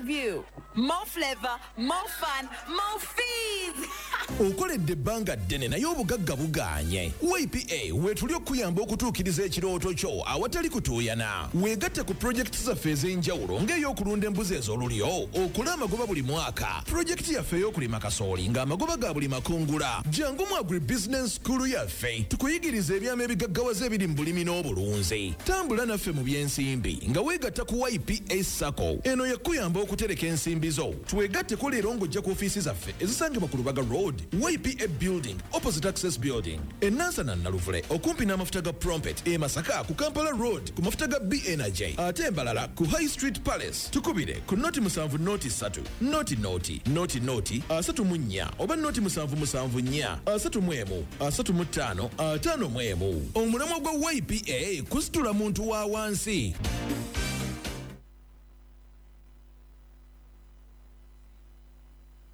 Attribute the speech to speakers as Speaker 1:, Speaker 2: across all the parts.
Speaker 1: view. More flavor, more fun, more fees.
Speaker 2: Okoledde ebbanga ddene naye obugagga bugaanye. YPA weetuli okukuyamba okutuukiriza ekirooto kyo awatali kutuuyana. Weegatte ku pulojekiti zaffe ez'enjawulo ng'ey'okulunda embuzi ez'olulyo okole amagoba buli mwaka, pulojekiti yaffe ey'okulima kasooli ng'amagoba ga buli makungula. Jangu mu Agribusiness School yaffe tukuyigirize ebyama ebigaggawaza ebiri mu bulimi n'obulunzi. Tambula naffe mu by'ensimbi nga weegatta ku YPA Sacco. Eno yakuyamba okutereka ensimbi zo. Twegatteko leero ng'ojja ku ofiisi zaffe ezisangibwa ku Lubaga Road, YPA Building, opposite Access Building. E Nansana Naluvule okumpi n'amafuta ga Prompet, e Masaka ku Kampala Road ku mafuta ga B Energy, ate Mbarara ku High Street Palace. Tukubire ku 0 7 0 3 0 0 0 0 34 oba 0 7 7 4 31 35 51. Omulamwa gwa YPA kusitula muntu wa wansi.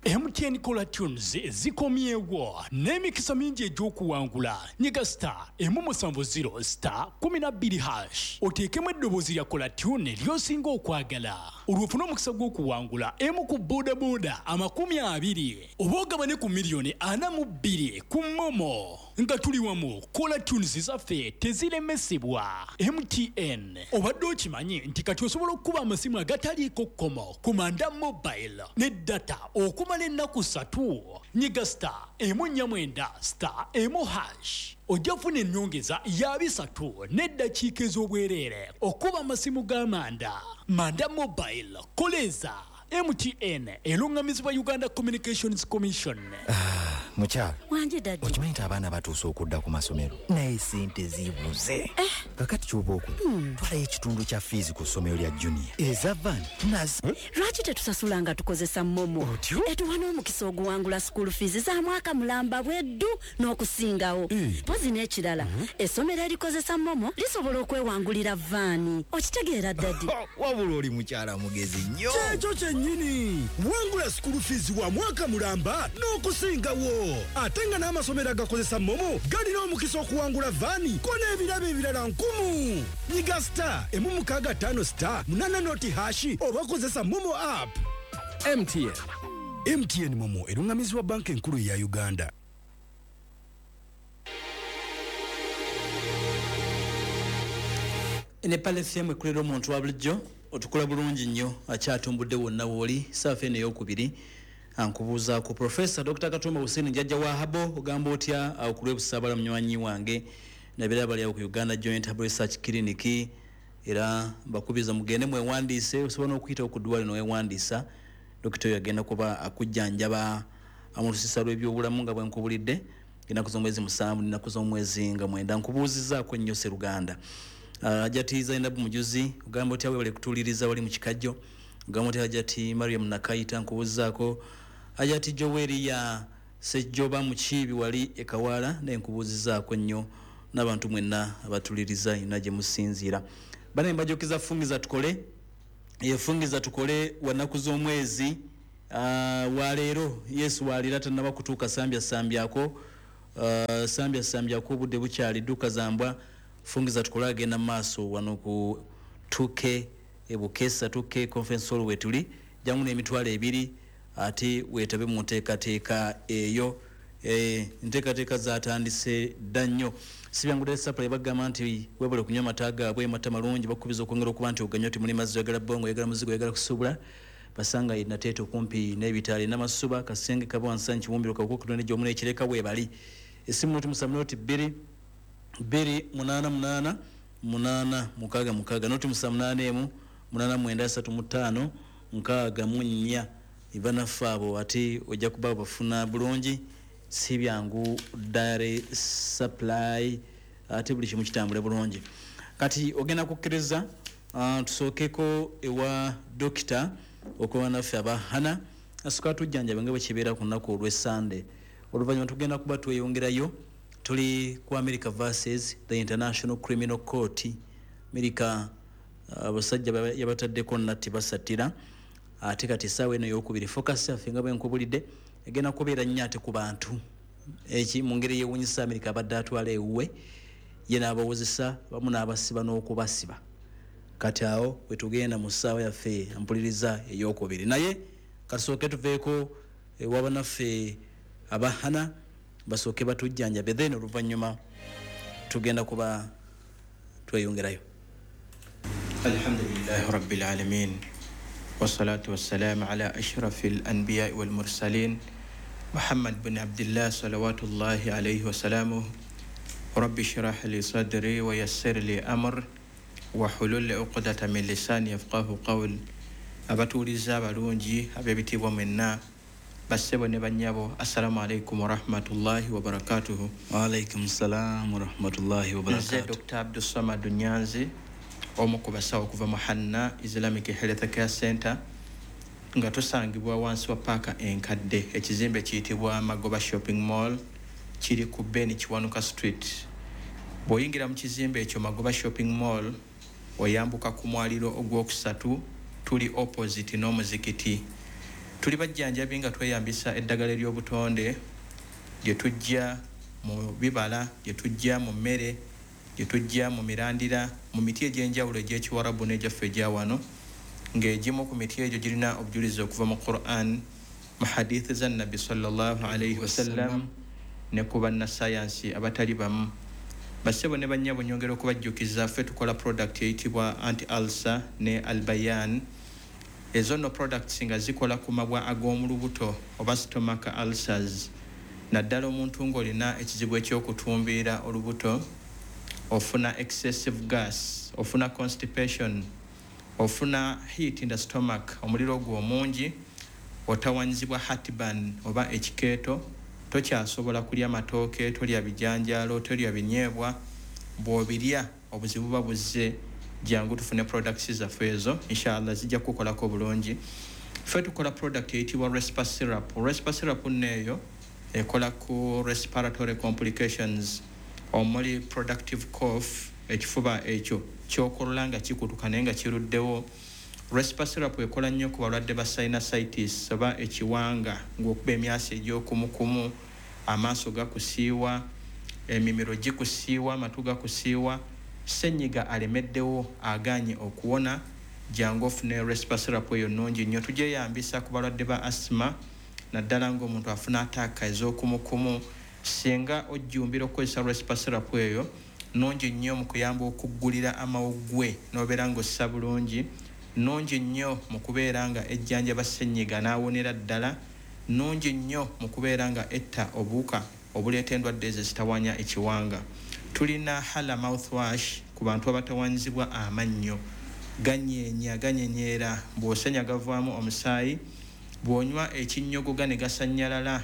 Speaker 3: MTN Caller Tunes zikomyewo n'emikisa mingi egy'okuwangula. Nyiga *170*12# oteekemu eddoboozi lya caller tune ly'osinga okwagala, olwo ofune omukisa gw'okuwangula emu ku bodaboda 20 oba ogabane ku miliyoni 42 ku MoMo. Nga tuli wamu, caller tunes zaffe teziremesebwa. MTN. Obadde okimanyi nti kati osobola okukuba amasimu agataliiko kkomo ku Manda Mobile ne data okumala ennaku 3? Nyiga *149*1# ojja kufuna ennyongeza ya 300 n'eddakiika ez'obwereere okuba amasimu ga Manda. Manda Mobile, koleeza. MTN eruŋŋamizibwa Uganda Communications Commission.
Speaker 4: Mukyala.
Speaker 5: Wangi, daddy.
Speaker 4: Okimanyi nti abaana batuuse okudda ku masomero, naye sente zibuze. Kakati kyoba okola, twalayo ekitundu kya fiizi ku ssomero lya Junior, eza van nazo.
Speaker 5: Lwaki tetusasula nga tukozesa MoMo?
Speaker 4: Otyo?
Speaker 5: Etuwa n'omukisa oguwangula school fees za mwaka mulamba bweddu n'okusingawo. Mpozi n'ekirala, essomero erikozesa MoMo lisobola okwewangulira van. Okitegeera, daddy?
Speaker 4: Wabula oli mukyala mugezi nnyo.
Speaker 6: Kyekyo kyennyini. Wangula school fees wa mwaka mulamba n'okusingawo, ate nga n'amasomero agakozesa MoMo galina omukisa okuwangula van ko n'ebirabo ebirala nkumu. Nyiga *165*80# oba kozesa MoMo app.
Speaker 7: MTN.
Speaker 6: MTN MoMo eruŋŋamizibwa Banka Enkulu eya Uganda.
Speaker 8: Ne Pal FM ekulera omuntu wa bulijjo. Otukola bulungi nnyo, akyatumbudde wonna wooli. Saafa eno eyokubiri ankubuuzaako Profesa Dr Katumba Hussein, jjajja wa Habo. Ogamba otya awo ku lwebusaabala, munywanyi wange? Nabeera bali awo ku Uganda Joint Herbal Research Clinic, era mbakubiriza mugende mwewandiise. Osobola n'okuyitawo ku ddwaliro newewandiisa. Dokita oyo agenda kuba akujjanjaba mu lusisa lw'ebyobulamu. Nga bwenkubulidde, ennaku z'omwezi 7 nenaku z'omwezi nga 9. Nkubuuzizaako nnyo Seruganda. Hajati Zainabu Mujuzi, ogamba otya? Webale kutuuliriza wali mu Kikajjo. Ogamba otya, Hajati Mariam Nakayita? Nkubuuzizaako. Hajati Joweria Sejjoba Mukiibi wali Ekawaala, naye nkubuuzizaako nnyo, n'abantu mwenna abatuliriza yonna gye musinziira. Bane, mbajjukiza Fungiza Tukole. Efungiza Tukole wanaku z'omwezi waleero. Yesu waleero atanaba kutuuka, sambya sambyako, sambya sambyako, obudde bukyali, dduka zambwa. Fungiza Tukole agenda mu maaso wano ku 2K Ebukesa, 2K Conference Hall wetuli. Jangu n'20,000 ate weetabe mu nteekateeka eyo. Enteekateeka zatandise dda nnyo. Sibyangu Supply bagamba nti webale kunywa amata gaabwe, mata malungi. Bakubiza okwongera okuba nti oganywa. Timuli mazzi, oyagala bongo, oyagala muzigo, oyagala kusuubula, basanga Nateete okumpi n'ebitaali n'amasuba Kasenge kaba wansanyi Kiwumbiro Kawukukutonde gyomu n'Ekireka weebali. Esimu 0 7 0 2 2 8 8 8 6 6, 0 7 8 1 8 9 3 5 6 mu 4. Banaffe abo ate ojja kuba bafuna bulungi. Si byangu Dairy Supply, ate buli kimu kitambule bulungi. Kati ogenda kukkiriza tusookeko ewa dokita okuba naffe aba Hana asooka tujjanjabe nga bwe kibeera ku lunaku olw'Essande. Oluvannyuma tugenda kuba tweyongerayo. Tuli ku America versus the International Criminal Court. America abasajja yabataddeko natti basattira. Ate kati essaawa eno eyokubiri, focus yaffe nga bwenkubulidde egenda kubeera nnyo ate ku bantu eki mu ngeri yewunyisa America abadde atwala ewuwe ye n'abawozesa bamu n'abasiba n'okubasiba. Kati awo wetugenda mu ssaawa yaffe mpuliriza eyokubiri, naye katusooke tuveeko ewabanaffe abahana basooke batujjanjabe, then oluvannyuma tugenda kuba tweyongerayo.
Speaker 7: Alhamdulillahi rabbil alamin wassalatu wassalamu ala ashrafil anbiya wal mursalin Muhammad bin Abdullah salawatullahi alayhi wasalamuh. Rabbi shrah li sadri wa yassir li amr wa hulul uqdata min lisani yafqahu qawl. Abatuuliza abalungi ab'ebitiibwa mwenna, bassebo ne bannyabo, assalamu alaikum warahmatullahi wabarakatuhu.
Speaker 8: Wa alaikum salam warahmatullahi wabarakatuh.
Speaker 7: Nze Dr. Abdulsamad Nyanzi, omu ku basawo okuva mu Hanna Islamic Health Care Center, nga tusangibwa wansi wa paaka enkadde, ekizimbe kiyitibwa Magoba Shopping Mall, kiri ku Ben Kiwanuka Street. Bw'oyingira mu kizimbe ekyo Magoba Shopping Mall, oyambuka ku mwaliro ogwokusatu, tuli opposite n'omuzikiti. Tuli bajjanjabi nga tweyambisa eddagala ery'obutonde lye tujja mu bibala, lye tujja mu mmere, lye tujja mu mirandira, mu miti egy'enjawulo egy'ekiwarabu n'egyaffe egya wano, ng'egimu ku miti egyo girina obujulizi okuva mu Quran, mu hadithi za Nabbi sallallahu alaihi wasallam, ne ku bannasayansi abatali bamu. Bassebo ne bannyabo, nyongera okubajjukiza ffe tukola product eyitibwa anti-ulcer ne albayan. Ezo nno products nga zikola ku mabwa ag'omu lubuto oba stomach ulcers, naddala omuntu ng'olina ekizibu ekyokutumbiira olubuto, ofuna excessive gas, ofuna constipation, ofuna heat in the stomach, omuliro ogwo omungi, otawanyizibwa heartburn oba ekikeeto, tokyasobola kulya matooke, tolya bijanjaalo, tolya binyeebwa, bw'obirya obuzibu buba buzze. Jangu tufune products zaffe ezo, inshallah zijja kukolako bulungi. Ffe tukola product eyitibwa Respa Syrup. Respa Syrup nno eyo ekola ku respiratory complications omuli productive cough, ekifuba ekyo kyokolola nga kikutuka naye nga kiruddewo. Respa Syrup ekola nnyo ku balwadde ba sinusitis oba ekiwanga, ng'okuba emyasi egy'okumukumu, amaaso gakusiiwa, emimiro gikusiiwa, amatu gakusiiwa, ssenyiga alemeddewo agaanye okuwona. Jangu ofune Respa Syrup eyo nnungi nnyo. Tugyeyambisa ku balwadde ba asthma, naddala ng'omuntu afuna ataaka ez'okumukumu. Singa ojjumbira okukozesa Respa Syrup eyo, nnungi nnyo mu kuyamba okuggulira amawuggwe n'obeera ng'ossa bulungi, nnungi nnyo mu kubeera nga ejjanjaba ssenyiga n'awonera ddala, nnungi nnyo mu kubeera nga etta obuwuka obuleeta endwadde ezo ezitawaanya ekiwanga. Tulina Hala mouthwash ku bantu abatawanyizibwa amannyo, ganyeenya ganyenyeera, bw'osenya gavaamu omusaayi, bw'onywa ekinnyogoga ne gasannyalala,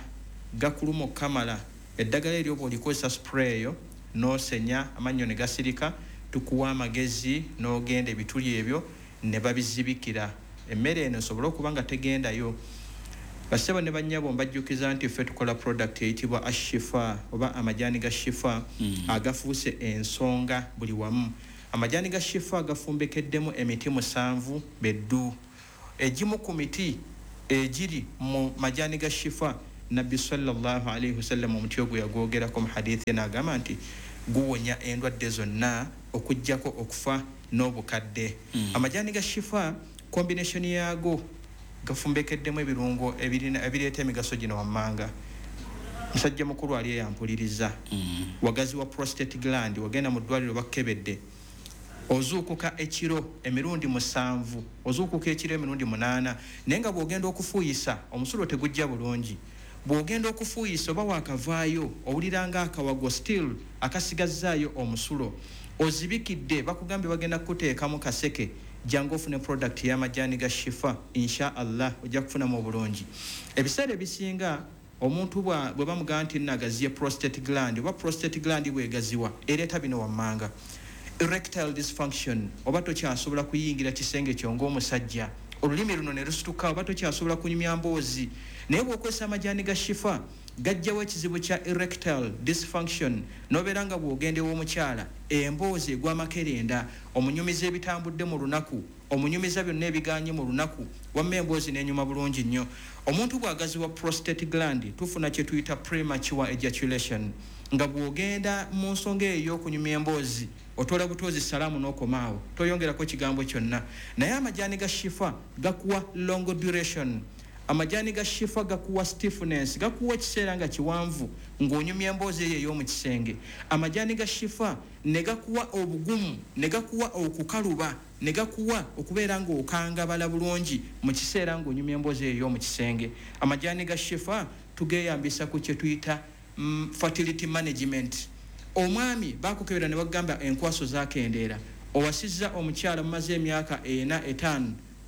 Speaker 7: gakuluma okukamala. Eddagala eryo bw'olikozesa spray eyo n'osenya amannyo ne gasirika, tukuwa amagezi n'ogenda ebituli ebyo ne babizibikira, emmere eno esobole okuba nga tegendayo. Bassebo ne bannyabo, mbajjukiza nti ffe tukola product eyitibwa Ashifa oba amajaani ga Shifa, agafuuse ensonga buli wamu. Amajaani ga Shifa gafumbekeddemu emiti 7 beddu. Egimu ku miti egiri mu majaani ga Shifa, Nabbi sallallahu alaihi wasallam omuti ogwo yagwogerako mu hadithi n'agamba nti guwonya endwadde zonna okuggyako okufa n'obukadde. Amajaani ga Shifa combination yaago gafumbekeddemu ebirungo ebireeta emigaso gino wammanga. Musajja mukulu ali eyampuliriza, wagazi wa prostate gland, wagenda mu ddwaliro bakkebedde, ozuukuka ekiro emirundi 7, ozuukuka ekiro emirundi 8, naye nga bw'ogenda okufuuyisa omusulo tegujja bulungi. Bw'ogenda okufuuyisa oba waakavaayo owulira nga akawago still akasigazzaayo omusulo, ozibikidde, bakugambye bagenda kukuteekamu kaseke. Jangu ofune product y'amajaani ga Shifa, insha Allah ojja kufunamu obulungi. Ebiseera ebisinga omuntu bwe bamugamba nti nagaziye prostate gland oba prostate gland bwegaziwa, ereeta bino wammanga: erectile dysfunction, oba tokyasobola kuyingira kisenge kyo ng'omusajja, olulimi luno ne lusituka, oba tokyasobola kunyumya mboozi. Naye bw'okozesa amajaani ga Shifa gajjawo ekizibu kya erectile dysfunction, n'obeera nga bw'ogenda ew'omukyala emboozi egwa makerenda, omunyumiza ebitambudde mu lunaku, omunyumiza byonna ebiganye mu lunaku, wamma emboozi n'enyuma bulungi nnyo. Omuntu bw'agaziwa prostate gland, tufuna kye tuyita premature ejaculation. Nga bw'ogenda mu nsonga eyo ey'okunyumya emboozi, otoola butozi salaamu n'okomaawo, toyongerako kigambo kyonna. Naye amajaani ga Shifa gakuwa long duration, amajaani ga Shifa gakuwa stiffness, gakuwa ekiseera nga kiwanvu ng'onyumya emboozi eyo ey'omu kisenge. Amajaani ga Shifa ne gakuwa obugumu, ne gakuwa okukaluba, ne gakuwa okubeera ng'okangabala bulungi mu kiseera ng'onyumya emboozi eyo ey'omu kisenge. Amajaani ga Shifa tugeyambisa ku kye tuyita fertility management. Omwami bakukebera ne bagamba enkwaso zakendeera, owasizza omukyala mumaze emyaka 4 5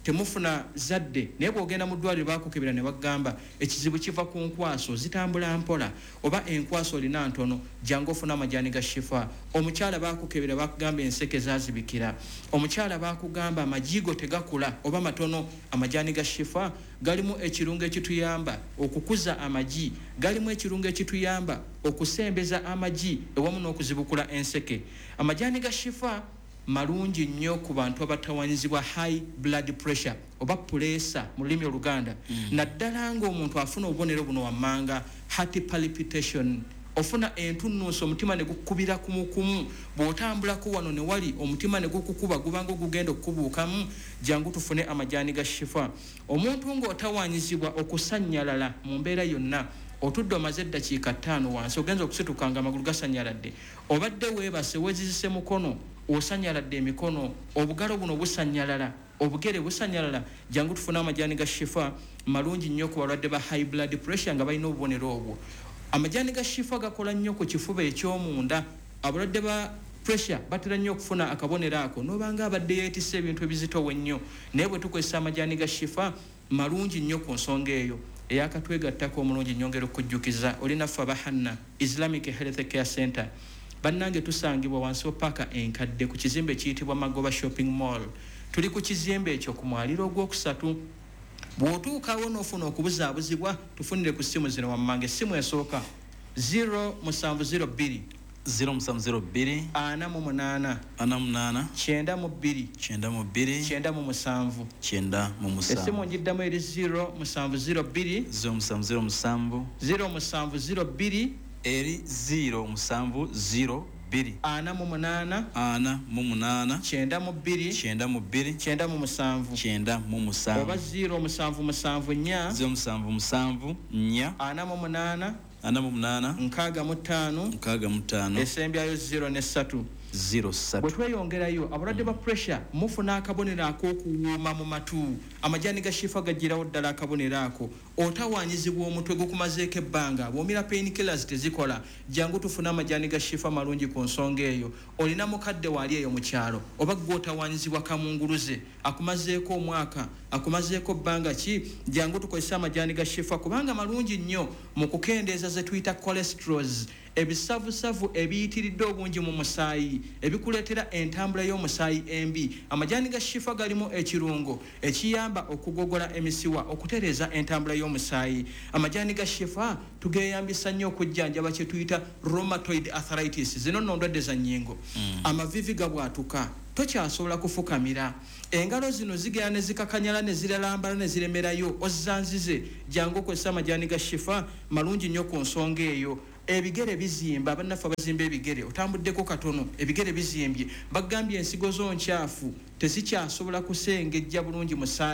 Speaker 7: temufuna zadde, naye bw'ogenda mu ddwaliro bakukebera ne bagamba ekizibu kiva ku nkwaso zitambula mpola, oba enkwaso olina ntono, jangu ofuna amajaani ga Shifa. Omukyala bakukebera bakugamba enseke zazibikira, omukyala bakugamba amajigo tegakula oba matono. Amajaani ga Shifa galimu ekirungo ekituyamba okukuza amagi, galimu ekirungo ekituyamba okusembeza amagi ewamu n'okuzibukula enseke. Amajaani ga Shifa malungi nnyo ku bantu abatawanyizibwa high blood pressure oba puleesa mu lulimi Oluganda, naddala ng'omuntu afuna obubonero buno wammanga: heart palpitation, ofuna entunnunsi, omutima ne gukubira kumukumu, bw'otambulako wano ne wali omutima ne gukukuba, gubanga ogugenda okukubuukamu, jangu tufune amajaani ga Shifa. Omuntu ng'otawanyizibwa okusannyalala mu mbeera yonna, otudde omaze eddakiika 5 wansi, ogenza okusituka nga amagulu gasannyaladde, obadde weebase weezizise mukono osanyaladde emikono, obugalo buno busanyalala, obugere busanyalala, jangu tufune amajaani ga Shifa. Malungi nnyo ku balwadde ba high blood pressure nga balina obubonero obwo. Amajaani ga Shifa gakola nnyo ku kifuba eky'omunda. Abalwadde ba pressure batera nnyo okufuna akabonero ako, n'obanga abadde yeetisse ebintu ebizitowa ennyo, naye bwe tukozesa amajaani ga Shifa malungi nnyo ku nsonga eyo. Eyakatwegattako omulungi, nyongera okujjukiza olinaffe aba Hanna Islamic Health Care Center. Bannange, tusangibwa wansi wa paaka enkadde ku kizimbe ekiyitibwa Magoba Shopping Mall. Tuli ku kizimbe ekyo ku mwaliro ogwokusatu. Bw'otuukawo n'ofuna okubuzaabuzibwa, tufunire ku ssimu zino wammanga. Essimu esooka 0702
Speaker 8: 0702
Speaker 7: 48
Speaker 8: 48
Speaker 7: 92
Speaker 8: 92
Speaker 7: 97.
Speaker 8: 97.
Speaker 7: Essimu ngiddamu, eri 0702
Speaker 8: 0707
Speaker 7: 0702
Speaker 8: eri 0702
Speaker 7: 48
Speaker 8: 48
Speaker 7: 92
Speaker 8: 92
Speaker 7: 97
Speaker 8: 97.
Speaker 7: Oba 0774
Speaker 8: 0774
Speaker 7: 48
Speaker 8: 48
Speaker 7: 65
Speaker 8: 65
Speaker 7: esembyayo 0 ne 3.
Speaker 8: 03.
Speaker 7: Bwe tweyongerayo, abalwadde ba pressure mufuna akabonero ak'okuwuuma mu matu, amajaani ga Shifa gagirawo ddala akabonero ako. Otawaanyizibwa omutwe gukumazeeko ebbanga, bw'omira pain killers tezikola, jangu tufune amajaani ga Shifa, malungi ku nsonga eyo. Olina mukadde waali eyo mu kyalo, oba gwe otawaanyizibwa kamunguluze akumazeeko omwaka, akumazeeko bbanga ki, jangu tukozese amajaani ga Shifa kubanga malungi nnyo mu kukendeeza ze tuyita cholesterols, ebisavusavu ebiyitiridde obungi mu musaayi ebikuleetera entambula y'omusaayi embi. Amajaani ga Shifa galimu ekirungo ekiyamba okugogola emisiwa, okutereeza entambula y'omusaayi. Amajaani ga Shifa tugeyambisa nnyo okujjanjaba kye tuyita rheumatoid arthritis. Zino nno ndwadde za nnyingo. Amavivi gabwatuka, tokyasobola kufukamira, engalo zino zigenda ne zikakanyala ne ziralambala ne ziremerayo, ozanzize, jangu okozesa amajaani ga Shifa, malungi nnyo ku nsonga eyo. Ebigere bizimba, bannaffe abazimba ebigere, otambuddeko katono ebigere bizimbye, bagambye ensigo zo nkyafu, tezikyasobola kusengejja bulungi musaayi.